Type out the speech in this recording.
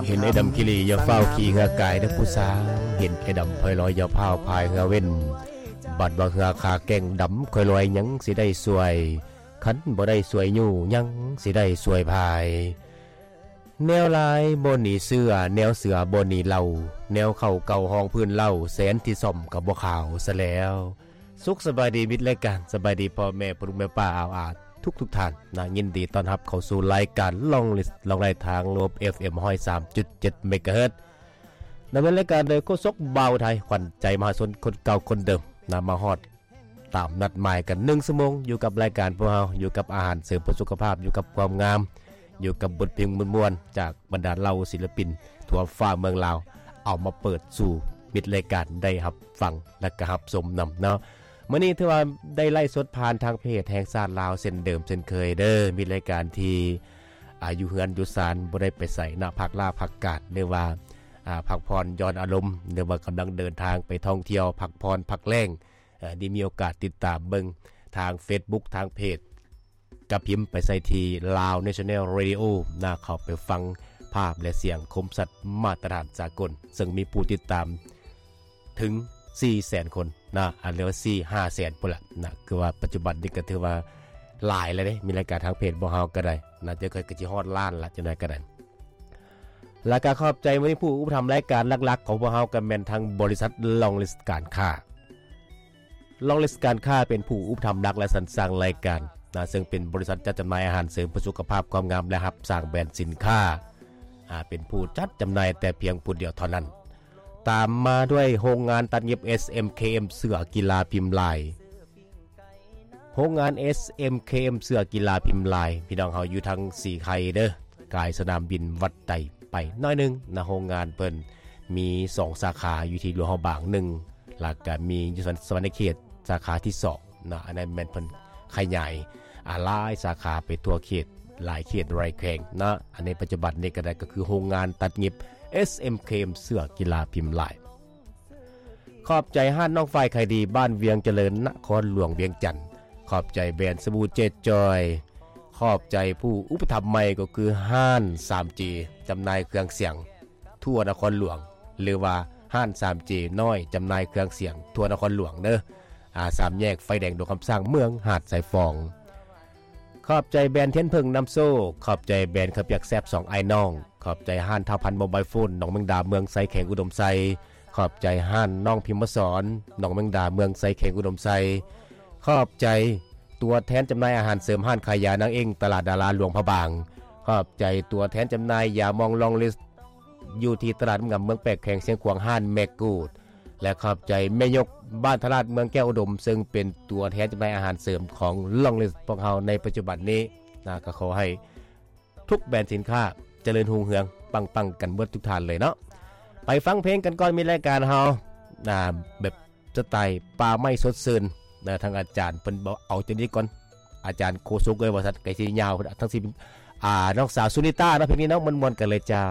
ເຫັນໄອ້ດຳຂີ້ຫຼີ້ຢ່າຟ້າວຂີ່ເຮືອກາຍເດີຜູ້ສາວ ເຫັນໄອ້ດຳພາຍລອຍຢ່າຟ້າວພາຍເຮືອເວັນ ບັດວ່າເຮືອຂາແກ້ງດຳຄ່ອຍລອຍຍັງຊິໄດ້ຊ່ວຍ ຄັນບໍ່ໄດ້ຊ່ວຍຍູ້ຍັງຊິໄດ້ຊ່ວຍພາຍ ແນວລາຍບໍ່ໜີເສືອ ແນວເສືອບໍ່ໜີເຫຼົ່າ ແນວເຂົ້າເກົ່າຮອງພື້ນເລົ່າ ແສນທີ່ສ້ອມກໍບໍ່ຂາວຊະແລ້ວ. ສຸກສະບາຍດີມິດລາຍການ ສະບາຍດີພໍ່ແມ່ພໍ່ລູກແມ່ປ້າອາວອາທຸກໆທ່ານນະ ຍິນດີຕ້ອນຮັບເຂົ້າສູ່ລາຍການລອງລິສ ລອງໄລ່ທາງລວມ ເອັຟເອັມ ຮ້ອຍສາມຈຸດເຈັດ ເມກາເຮີດ ດຳເນີນລາຍການໂດຍໂຄສົກບ່າວໄທ ຂວັນໃຈມະຫາຊົນຄົນເກົ່າຄົນເດີມນະ ມາຮອດຕາມນັດໝາຍກັນໜຶ່ງຊົ່ວໂມງ ຢູ່ກັບລາຍການພວກເຮົາ ຢູ່ກັບອາຫານເສີມເພື່ອສຸຂະພາບ ຢູ່ກັບຄວາມງາມ ຢູ່ກັບບົດເພງມ່ວນໆ ຈາກບັນດາເຫຼົ່າສິນລະປິນທົ່ວຟ້າເມືອງລາວ ເອົາມາເປີດສູ່ມິດລາຍການໄດ້ຮັບຟັງ ແລະກະຮັບຊົມນຳເນາະ. ມື້ນີ້ຖືວ່າໄດ້ໄລຟ໌ສົດຜ່ານທາງເພຈແຫ່ງຊາດລາວເຊັ່ນເດີມເຊັ່ນເຄີຍເດີ ມີລາຍການທີ່ ອາ ຢູ່ເຮືອນຢູ່ຊານ ບໍ່ໄດ້ໄປໃສນະ ພັກລາພັກການ ຫຼືວ່າ ອາ ພັກຜ່ອນຢ່ອນອາລົມ ຫຼືວ່າກຳລັງເດີນທາງໄປທ່ອງທ່ຽວ ພັກຜ່ອນພັກແລ້ງ ເອີ ໄດ້ມີໂອກາດຕິດຕາມເບິ່ງທາງເຟສບຸກ ທາງເພຈ ກະພິມໄປໃສ່ທີ່ Lao National Radio ນະ ເຂົ້າໄປຟັງພາບ ແລະ ສຽງຄົມຊັດມາດຕະຖານສາກົນ ເຊິ່ງມີຜູ້ຕິດຕາມ ເຖິງສີ່ແສນຄົນນະ ອັນເລີວ່າສີ່ຫ້າແສນພຸ້ນລະນະ ຄືວ່າປັດຈຸບັນນີ້ກໍຖືວ່າຫຼາຍແລ້ວເດ້ ມີລາຍການທາງເພຈພວກເຮົາກໍໄດ້ນະ ຈະໃກ້ກໍຊິຮອດລ້ານລະ ຈັ່ງໃດກໍໄດ້. ແລ້ວກໍຂອບໃຈມື້ນີ້ຜູ້ອຸປະຖຳລາຍການຫຼັກໆຂອງພວກເຮົາ ກໍແມ່ນທາງບໍລິສັດລອງລິສການຄ້າ ລອງລິສການຄ້າເປັນຜູ້ອຸປະຖຳຫຼັກ ແລະ ສັນສ້າງລາຍການນະ ເຊິ່ງເປັນບໍລິສັດຈັດຈຳໜ່າຍອາຫານເສີມເພື່ອສຸຂະພາບຄວາມງາມ ແລະ ຮັບສ້າງແບຣນສິນຄ້າ ອາ ເປັນຜູ້ຈັດຈຳໜ່າຍແຕ່ພຽງຜູ້ດຽວເທົ່ານັ້ນ. ຕາມມາດ້ວຍໂຮງງານຕັດຫຍິບ ເອສເອັມເຄເອັມ ເສື້ອກິລາພິມລາຍ ໂຮງງານ ເອສເອັມເຄເອັມ ເສື້ອກິລາພິມລາຍ ພີ່ນ້ອງເຮົາຢູ່ທາງສີໄຄເດີ ກາຍສະໜາມບິນວັດໄຕໄປໜ້ອຍໜຶ່ງນະ ໂຮງງານເພິ່ນມີສອງສາຂາ ຢູ່ທີ່ຫຼວງພະບາງໜຶ່ງ ແລ້ວກະມີຢູ່ສະຫວັນນະເຂດສາຂາທີສອງ ເນາະ ອັນນັ້ນແມ່ນເພິ່ນຂະຫຍາຍ ອາ ຫຼາຍສາຂາໄປທົ່ວເຂດ ຫຼາຍເຂດຫຼາຍແຂວງເນາະ ອັນໃນປັດຈຸບັນນີ້ກໍໄດ້ ກໍຄືໂຮງງານຕັດຫຍິບ ເອສເອັມເຄເອັມ ເສື້ອກິລາພິມລາຍ. ຂອບໃຈຮ້ານນ້ອງຝ້າຍຂາຍດີ ບ້ານວຽງຈະເລີນ ນະຄອນຫຼວງວຽງຈັນ ຂອບໃຈແບຣນສະບູເຈຈອຍ ຂອບໃຈຜູ້ອຸປະຖຳໃໝ່ ກໍຄືຮ້ານສາມເຈ ຈຳໜ່າຍເຄື່ອງສຽງ ທົ່ວນະຄອນຫຼວງ ຫຼືວ່າຮ້ານສາມເຈນ້ອຍ ຈຳໜ່າຍເຄື່ອງສຽງທົ່ວນະຄອນຫຼວງເດີ ອາ ສາມແຍກໄຟແດງດວງຄຳສ້າງ ເມືອງຫາດຊາຍຟອງ. ຂອບໃຈແບຣນທຽນເຜິ້ງນຳໂຊກ ຂອບໃຈແບຣນເຂົ້າປຽກແຊບສອງອ້າຍນ້ອງ ຂອບໃຈຮ້ານທ້າວພັນໂມບາຍໂຟນ ໜອງແມງດາ ເມືອງໄຊ ແຂວງອຸດົມໄຊ ຂອບໃຈຮ້ານນ້ອງພິມມະສອນ ໜອງແມງດາ ເມືອງໄຊ ແຂວງອຸດົມໄຊ ຂອບໃຈຕົວແທນຈຳໜ່າຍອາຫານເສີມ ຮ້ານຂາຍຢານາງເອັ້ງ ຕະຫຼາດດາລາ ຫຼວງພະບາງ ຂອບໃຈຕົວແທນຈຳໜ່າຍຢາມອງລອງລິສ ຢູ່ທີ່ຕະຫຼາດນ້ຳງາມເມືອງແປກ ແຂວງຊຽງຂວາງ ຮ້ານແມ່ກູດ ແລະ ຂອບໃຈແມ່ຍົກບ້ານທະລາດ ເມືອງແກ້ວອຸດົມ ເຊິ່ງເປັນຕົວແທນຈຳໜ່າຍອາຫານເສີມຂອງລອງລິສພວກເຮົາໃນປັດຈຸບັນນີ້ນະ ກໍຂໍໃຫ້ທຸກແບຣນສິນຄ້າຈະເລີນຮຸ່ງເຮືອງ ປັງໆກັນເບິດທຸກທ່ານເລີຍເນາະ. ໄປຟັງເພງກັນກ່ອນ ມີລາຍການເຮົາ ນະ ແບບ ສະໄຕປ່າໄມ້ສົດຊື່ນນະ ທາງອາຈານເພິ່ນເອົາຈັ່ງນີ້ກ່ອນ ອາຈານໂຄສົກເອີຍ ວ່າຊັ້ນ ໄກຊິຍາວ ທັງຊິ ອາ ນ້ອງສາວສຸນິຕາເນາະ ເພງນີ້ເນາະ ມ່ວນໆກັນເລີຍເຈົ້າ.